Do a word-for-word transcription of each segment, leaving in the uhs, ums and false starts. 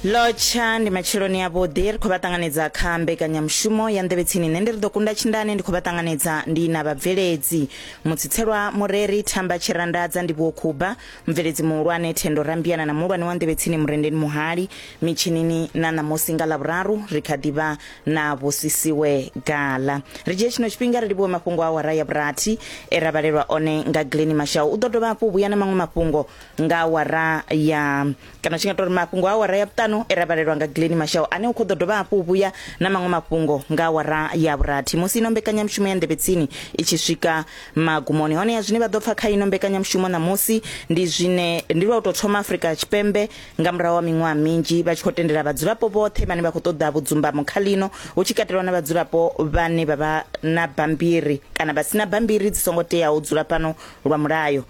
Lotsha ndi matsheloni avhuḓi, ri khou vha ṱanganedza kha mbekanyamushumo ya Nḓevhe Tsini. Nṋe ndi ri ḓo kunda tshindane, ndi khou vha ṱanganedza ndi na vhabveledzi Mutsitselwa Mureri, Thamba Tshirandadza, Ndivhuwo Khuba, mubveledzi muhulwane Thendo Rambiana na muhulwane wa Nḓevhe Tsini Murendeni Muhali. Mitshinini na ṋamusi nga Ḽavhuraru ri kha ḓivha na Vhusisiwe Gala. Ri dzhie tshino tshifhinga ri livhuwe mafhungo a awara ya vhurathi e ra vhalelwa one nga Glennie Mashau. U ḓo dovha hafhu vhuya na maṅwe mafhungo nga awara ya kana tshi nga tou ri mafhungo a awara ya vhuṱanu e ra vhalelwa nga Glennie Mashau, ane u khou ḓo dovha hafhu vhuya na maṅwe mafhungo nga awara ya vhurathi musi ino mbekanyamushumo ya Nḓevhe Tsini i tshi swika magumoni. Hone ya zwine vha ḓo pfa kha ino mbekanyamushumo ṋamusi ndi zwine ndi lwa u tou thoma Afrika Tshipembe nga murahu ha miṅwaha minzhi vha tshi khou tendela vhadzulapo vhoṱhe vhane vha khou ṱoḓa vhudzumbamo kha ḽino, hu tshi katelwa na vhadzulapo vhane vha vha na bambiri kana vha sina bambiri dzi songo teaho u dzula fhano lwa mulayo,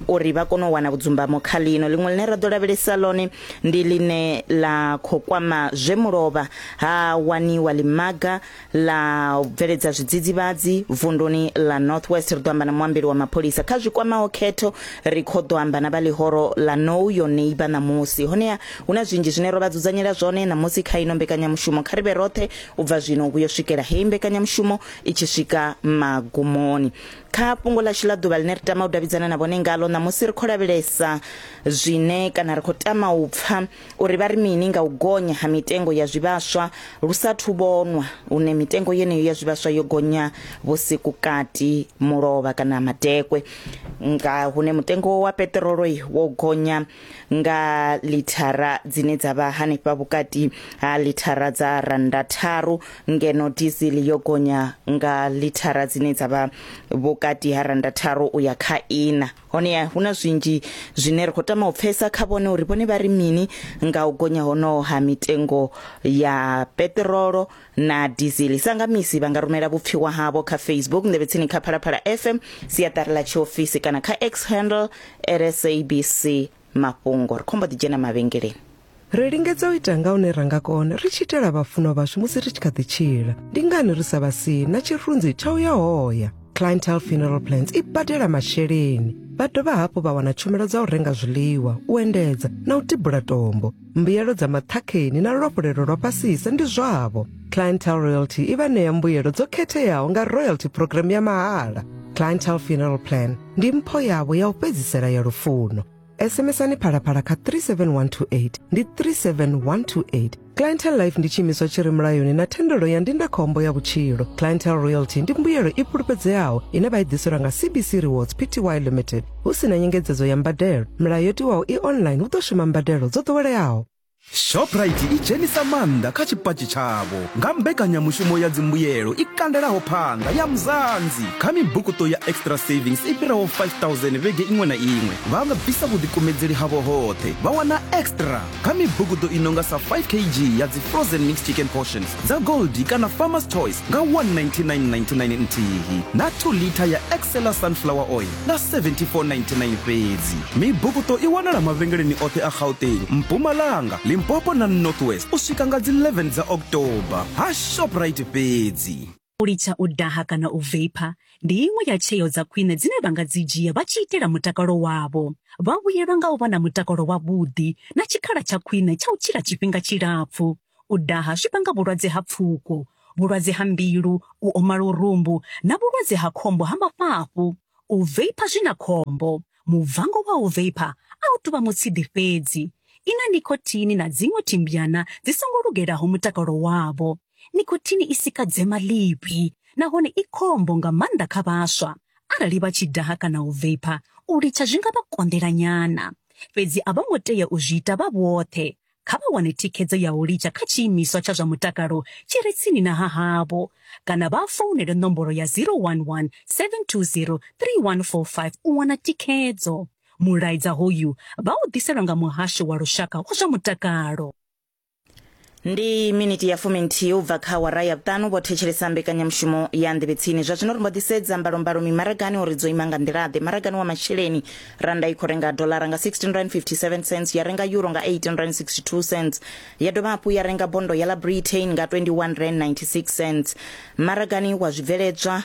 uri vha kone u wana vhudzumbamo kha ḽino. Ḽiṅwe ḽine ra ḓo lavhelesa ḽone ndi ḽine ḽa khou kwama zwe mulovha ha waniwa ḽimaga ḽa u bveledza zwidzidzivhadzi vunduni ḽa North West. Ri ḓo amba na muambeli wa mapholisa kha zwi kwamaho khetho, ri khou ḓo amba na vha ḽihoro ḽa Know Your Neighbour ṋamusi. Honeha hu na zwinzhi zwine ro vha dzudzanyela zwone ṋamusi kha ino mbekanyamushumo. Kha ri vhe roṱhe u bva zwino u vhuya u swikela heyi mbekanyamushumo i tshi swika magumoni. Kha fhungo ḽashu ḽa ḓuvha ḽine ri tama u davhidzana na vhone ngalo ṋamusi, ri khou lavhelesa zwine kana ri khou tama u pfa uri vha ri mini nga u gonya ha mitengo ya zwivhaswa lu sathu vhonwa, hune mitengo yeneyo ya zwivhaswa yo gonya vhusiku kati mulovha kana madekwe, nga hune mutengo wa peṱirolo wo gonya nga lithara dzine dza vha hanefha vhukati ha lithara dza randa tharu, ngeno diesel yo gonya nga lithara dzine dza vha vhukati ha randa tharu u ya kha ina. Hone hu na zwinzhi zwine ri khou tama u pfesa kha vhone uri vhone vha ri mini nga u gonya honoho ha mitengo ya peṱirolo na diesel. Sa nga misi vha nga rumela vhupfiwa havho kha Facebook Nḓevhe Tsini kha Phalaphala F M siaṱari ḽa tshiofisi kana kha X handle S A B C mafhungo. Ri khombo ḓi dzhena mavhengeleni. Ri lingedza u ita nga hune ra nga kona ri tshi itela vhafunwa vhashu musi ri tshi kha ḓi tshila. Ndi ngani ri sa vha sii na tshirunzi tsha u ya hoya? Clientele Funeral Plans i badela masheleni. Vha dovha hafhu vha wana tshumelo dza u renga zwiḽiwa, u endedza na u tibula tombo. Mbuyelo dza maṱhakheni na luafhulelo lwa fhasisa ndi zwavho. Clientele Royalty i vha ṋea mbuyelo dzo khetheaho nga royalty program ya mahala. Clientele Funeral Plan ndi mpho yavho ya u fhedzisela ya lufuno. S M S-ani Phalaphala kha three seven one two eight ndi three seven one two eight. Clientele Life ndi tshiimiswa tshi re mulayoni na thendelo ya ndindakhombo ya vhutshilo. Clientele Royalty ndi mbuyelo i fhulufhedzeaho ine vha i ḓiselwa nga C B C Rewards P T Y Limited. Hu si na nyengedzedzo ya mbadelo. Milayo yo tiwaho i online hu ḓo shuma mbadelo dzo ḓoweleaho. Shoprite i dzhenisa maanḓa kha tshipatshi tshavho nga mbekanyamushumo ya dzimbuyelo i kandelaho phanḓa ya Mzanzi kha mibukuto ya extra savings i fhiraho five thousand vhege iṅwe na iṅwe. Vha nga bvisa vhuḓikumedzeli havho hoṱhe vha wana extra kha mibukuto i nonga sa five K G ya dzi frozen mixed chicken portions dza Gold kana Farmer's Choice nga one ninety-nine ninety-nine nthihi na two liter ya Excella sunflower oil nga seventy-four ninety-nine fhedzi. Mibukuto i wanala mavhengeleni oṱhe a Gauteng, Mpumalanga, Limpopo na North West u swika nga dzi eleven dza October. Ha Shoprite fhedzi. U litsha u daha kana u vapor ndi iṅwe ya tsheo dza khwine dzine vha nga dzi dzhia vha tshi itela mutakalo wavho. Vha vhuyelwa nga u vha na mutakalo wavhuḓi na tshikhala tsha khwine tsha u tshila tshifhinga tshilapfu. U daha zwi vhanga vhulwadze ha pfuko, vhulwadze ha mbilu, u oma lurumbu na vhulwadze ha khombo ha mafhafhu. U vapor zwi na khombo. Muvango wa u vapor a u tou vha mutsidi fhedzi. Ina nikotini na dziṅwe thimbyana dzi songo lugelaho mutakalo wavho. Nikotini i sika dzema ḽivhi nahone i khombo nga maanḓa kha vhaswa. Arali vha tshi daha kana u vapor, u litsha zwi nga vha konḓela nyana. Fhedzi a vho ngo tea u zwi ita vha vhoṱhe. Kha vha wane thikhedzo ya u litsha kha tshiimiswa tsha zwa mutakalo tshi re tsini na ha havho kana vha founele nomboro ya zero one one seven two zero three one four five u wana thikhedzo. Mulaedza hoyu vha u ḓiselwa nga muhasho wa lushaka wa zwa mutakalo. Ndi miniti ya fuminthihi u bva kha awara ya vhuṱanu vho thetshelesa mbekanyamushumo ya Nḓevhe Tsini. Zwa zwino ri mbo ḓi sedza mbalombalo mimaragani uri dzo ima nga nḓila-ḓe. Maragani wa masheleni, randa i khou renga dolara nga sixteen rand fifty-seven cents, ya renga euro nga eighteen rand sixty-two cents, ya dovha hafhu ya renga bondo ya ḽa Britain nga twenty-one rand ninety-six cents. Maragani wa zwibveledzwa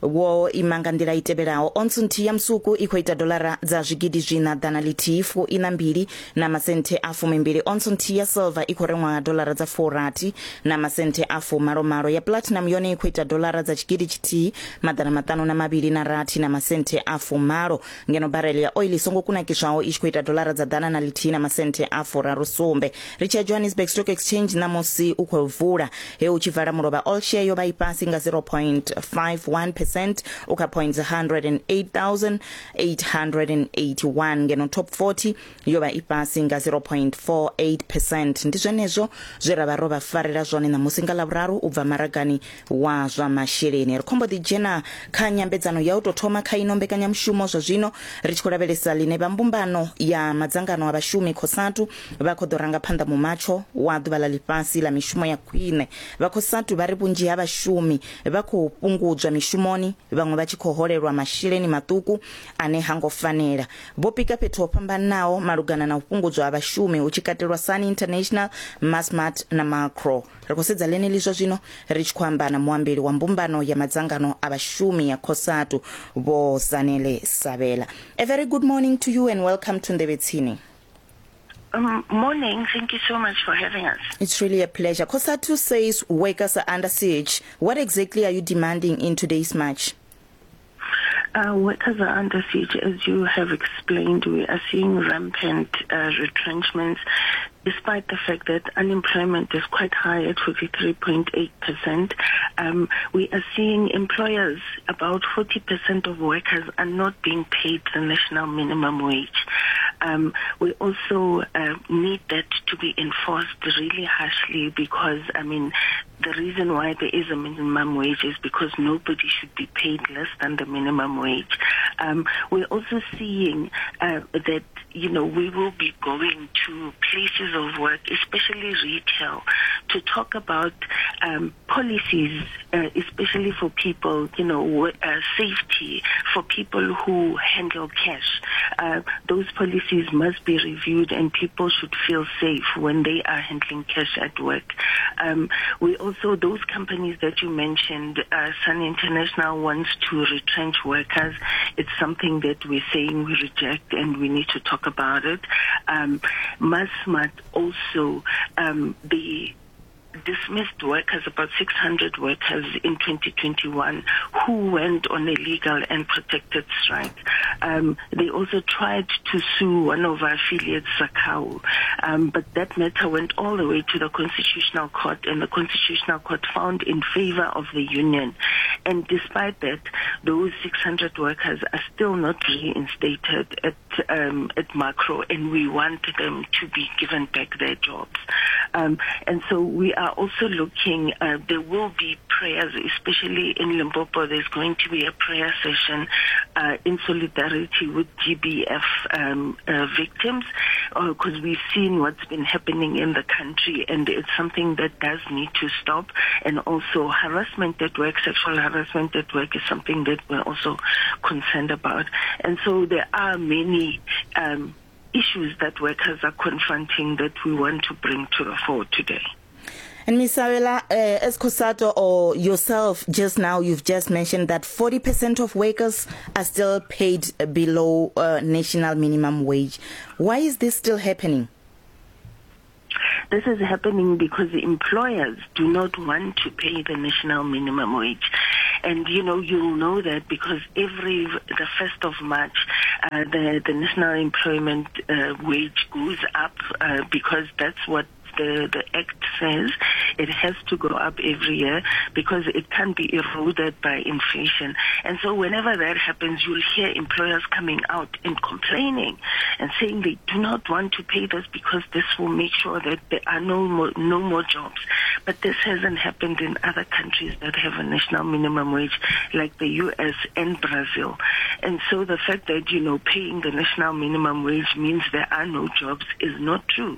wo ima nga nḓila i tevhelaho. Ontsu nthihi ya musuku i khou ita dolara dza zwigidi zwina ḓana ḽithihi fu ina mbili na masenthe a fumimbili. Ontsu nthihi ya silver i khou rengwa nga dolara dza furathi na masenthe a fumalomalo. Ya platinum yone i khou ita dolara dza tshigidi tshithihi maḓana maṱanu na mavhili na rathi na masenthe a fumalo. Ngeno barele ya oil i songo kunakiswaho i tshi khou ita dolara dza ḓana na ḽithihi na masenthe a furaru sumbe. Ri tshi ya Johannesburg Stock Exchange ṋamusi u khou vula he u tshi vala mulovha all share yo vha i fhasi nga zero point five one percent u kha points one hundred and eight thousand eight hundred and eighty-one. Ngeno top forty yo vha i fhasi nga zero point four eight percent. Ndi zwenezwo zwe ra vha ro vha farela zwone ṋamusi nga Ḽavhuraru u bva maragani wa zwa masheleni. Ri khombo ḓi dzhena kha nyambedzano ya u tou thoma kha ino mbekanyamushumo zwa zwino ri tshi khou lavhelesa ḽine vha mbumbano ya madzangano a vhashumi COSATU vha khou ḓo ranga phanḓa mumatsho wa ḓuvha ḽa ḽifhasi ḽa mishumo ya khwine. Vha COSATU vha ri vhunzhi ha vhashumi vha khou fhungudzwa mishumoni, vhaṅwe vha tshi khou holelwa masheleni maṱuku ane hango fanela. Vho pika fhethu ho fhambanaho malugana na u fhungudzwa ha vhashumi hu tshi katelwa Sun International, Massmart na Makro. Ri khou sedza ḽeneḽi zwa zwino ri tshi khou amba na muambeli wa mbumbano ya madzangano a vhashumi ya COSATU Vho Zanele Sabela. A very good morning to you and welcome to Nḓevhe Tsini. Um, morning. Thank you so much for having us. It's really a pleasure. COSATU says workers are under siege. What exactly are you demanding in today's march? Uh, workers are under siege. As you have explained, we are seeing rampant uh, retrenchments, despite the fact that unemployment is quite high at forty-three point eight percent. Um, we are seeing employers, about forty percent of workers are not being paid the national minimum wage. Um, we also uh, need that to be enforced really harshly because, I mean, the reason why there is a minimum wage is because nobody should be paid less than the minimum wage. Um, we're also seeing uh, that, you know, we will be going to places of work, especially retail, to talk about um, policies, uh, especially for people, you know, uh, safety for people who handle cash. Uh, those policies must be reviewed and people should feel safe when they are handling cash at work. Um, we also, those companies that you mentioned, uh, Sun International wants to retrench workers. It's something that we're saying we reject and we need to talk about it. Um, Massmart also, um, the dismissed workers, about six hundred workers in twenty twenty-one who went on a legal and protected strike. Um, they also tried to sue one of our affiliates, SACCAWU, um, but that matter went all the way to the Constitutional Court, and the Constitutional Court found in favor of the union. And despite that, those six hundred workers are still not reinstated at, um, at Makro, and we want them to be given back their jobs. Um, and so we are also looking, uh, there will be prayers, especially in Limpopo. There's going to be a prayer session uh, in solidarity with G B F um, uh, victims, because uh, we've seen what's been happening in the country, and it's something that does need to stop. And also harassment at work, sexual harassment at work is something that we're also concerned about. And so there are many um, issues that workers are confronting that we want to bring to the fore today. And Miz Sabela, uh, as COSATU or yourself just now, you've just mentioned that forty percent of workers are still paid below uh, national minimum wage. Why is this still happening? This is happening because the employers do not want to pay the national minimum wage. And, you know, you'll know that because every, the first of March, uh, the, the national employment uh, wage goes up uh, because that's what the, the Act says. It has to go up every year because it can't be eroded by inflation. And so whenever that happens, you'll hear employers coming out and complaining and saying they do not want to pay this because this will make sure that there are no more, no more jobs. But this hasn't happened in other countries that have a national minimum wage, like the U S and Brazil. And so the fact that, you know, paying the national minimum wage means there are no jobs is not true.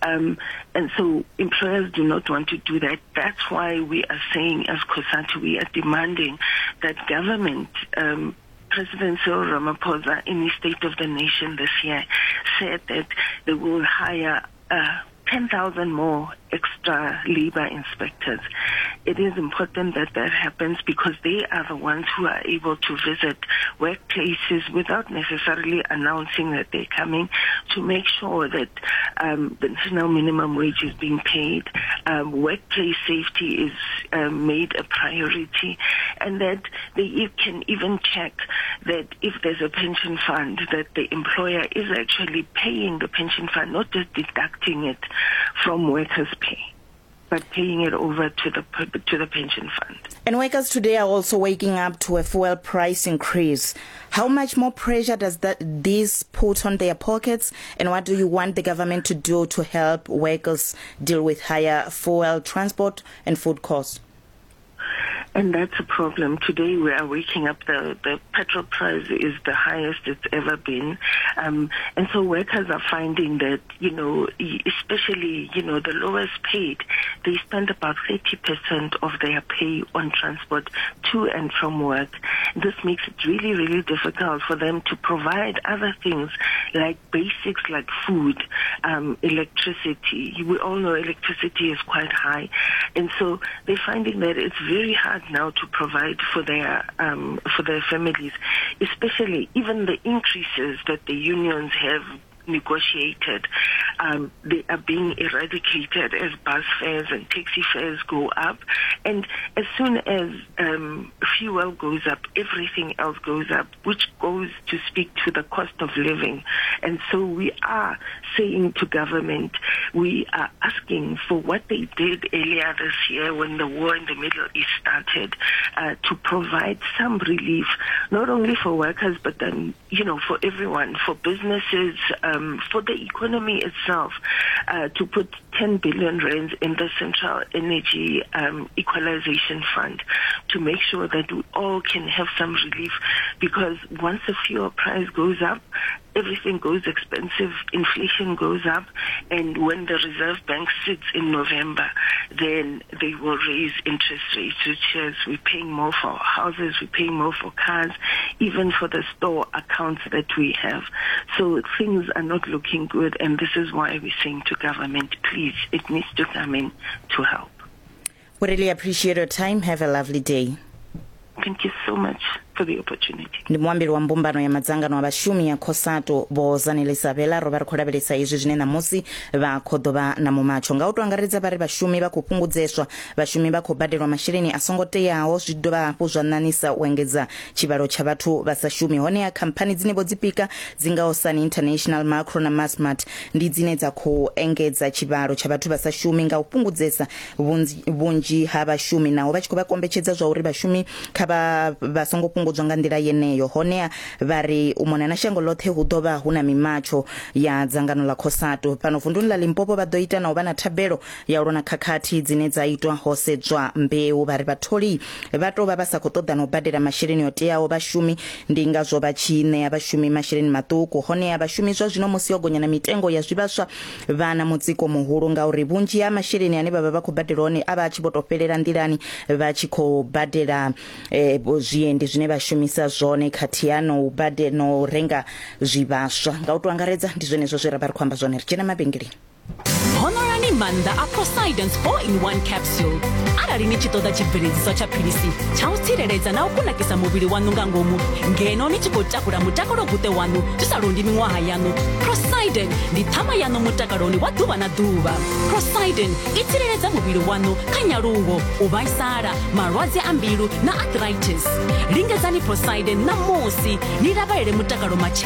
Um, and so employers do not want to do that. That's why we are saying, as COSATU, we are demanding that government, um, President Cyril Ramaphosa, in his State of the Nation this year, said that they will hire uh, ten thousand more extra labor inspectors. It is important that that happens because they are the ones who are able to visit workplaces without necessarily announcing that they're coming, to make sure that um, the national minimum wage is being paid, um, workplace safety is um, made a priority, and that they can even check that if there's a pension fund, that the employer is actually paying the pension fund, not just deducting it from workers' pay, but paying it over to the to the pension fund. And workers today are also waking up to a fuel price increase. How much more pressure does that this put on their pockets? And what do you want the government to do to help workers deal with higher fuel, transport and food costs? And that's a problem. Today we are waking up, the, the petrol price is the highest it's ever been. Um, and so workers are finding that, you know, especially, you know, the lowest paid, they spend about thirty percent of their pay on transport to and from work. This makes it really, really difficult for them to provide other things like basics like food, um, electricity. We all know electricity is quite high. And so they're finding that it's very hard now to provide for their um, for their families, especially even the increases that the unions have negotiated, um, they are being eradicated as bus fares and taxi fares go up. And as soon as um, fuel goes up, everything else goes up, which goes to speak to the cost of living. And so we are saying to government, we are asking for what they did earlier this year when the war in the Middle East started, uh, to provide some relief, not only for workers, but then, you know, for everyone, for businesses, um, for the economy itself, uh, to put ten billion rands in the Central Energy um, Equalization Fund to make sure that we all can have some relief, because once the fuel price goes up, everything goes expensive, inflation goes up, and when the Reserve Bank sits in November, then they will raise interest rates, which is we're paying more for houses, we're paying more for cars, even for the store accounts that we have. So things are not looking good, and this is why we're saying to government, please, it needs to come in to help. We really appreciate your time. Have a lovely day. Thank you so much for the opportunity. Ndi muambeli wa mbumbano ya madzangano a vhashumi ya COSATU Vho Zanele Sabela ro vha ri khou lavhelesa izwi zwine ṋamusi vha khou ḓo vha na mumatsho. Nga u to angaredza vha ri vhashumi vha khou fhungudzeswa, vhashumi vha khou badelwa masheleni a songo teaho, zwi dovha hafhu zwa ṋaṋisa u engedza tshivhalo tsha vhathu vha sa shumi. Honeha khamphani dzine vho dzi pika dzi ngaho Sun International, Macro na Massmart ndi dzine dza khou engedza tshivhalo tsha vhathu vha sa shumi nga u fhungudzesa vhunzhi ha vhashumi, naho vha tshi khou vha kombetshedza zwa uri vhashumi kha vha vha songo fhungudzwa nga nḓila yeneyo. Honeha vha ri u mona na shango ḽoṱhe hu ḓo vha hu na mimatsho ya dzangano ḽa COSATU. Fhano vunduni ḽa Limpopo vha ḓo ita na u vha na thabelo ya u lwa na khakhathi dzine dza itwa ho sedzwa mbeu. Vha ri vhatholi vha tou vha vha sa khou ṱoḓa na u badela masheleni o teaho vhashumi, ndi ngazwo vha tshi ṋea vhashumi masheleni maṱuku. Honeha vhashumi zwa zwino musi yo gonya na mitengo ya zwivhaswa vha na mutsiko muhulu ngauri vhunzhi ha masheleni ane vha vha vha khou badela hone a vha a tshi vho tou fhelela nḓilani vha tshi khou badela eh, zwiendi zwine vha shumisa zwone khathihi no u badela no renga zwivhaswa. Nga u to angaredza ndi zwenezwo zwe ra vha ri khou amba zwone. Ri dzhena mavhengeleni. Honorani maanḓa a Poseidon's four in one capsule. Arali ni tshi ṱoḓa tshibveledziswa tsha philisi tsha u tsireledza na u kunakisa muvhili waṋu nga ngomu ngeno ni tshi khou takula mutakalo guṱe waṋu zwi sa londi miṅwaha yaṋu, Poseidon ndi ṱhama yaṋu mutakaloni wa ḓuvha na ḓuvha. Poseidon i tsireledza muvhili waṋu kha nyaluwo, u vhaisala, malwadze a mbilu na arthritis. Lingedzani Poseidon ṋamusi ni lavhelele mutakalo matshelo.